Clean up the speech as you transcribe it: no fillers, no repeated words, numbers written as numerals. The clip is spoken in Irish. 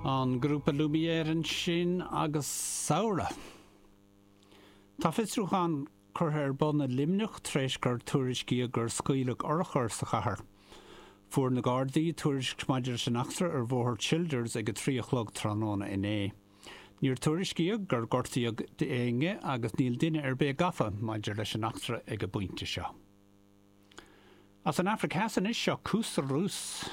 An grúpa Lumière ansin agus Samhradh. Tá fiosrúchán curtha ar bun i Luimneach tar éis gur tuairiscíodh gur scaoileadh urchar sa chathair. Fuair na Gardaí tuairisc maidir leis an eachtra ar Bhóthar Childers ag a 3 a chlog tráthnóna inné. Níor tuairiscíodh gur gortaíodh éinne agus níl duine ar bith gafa maidir leis an eachtra ag an bpointe seo. As an Afraic Theas anois, seo Koos Roos.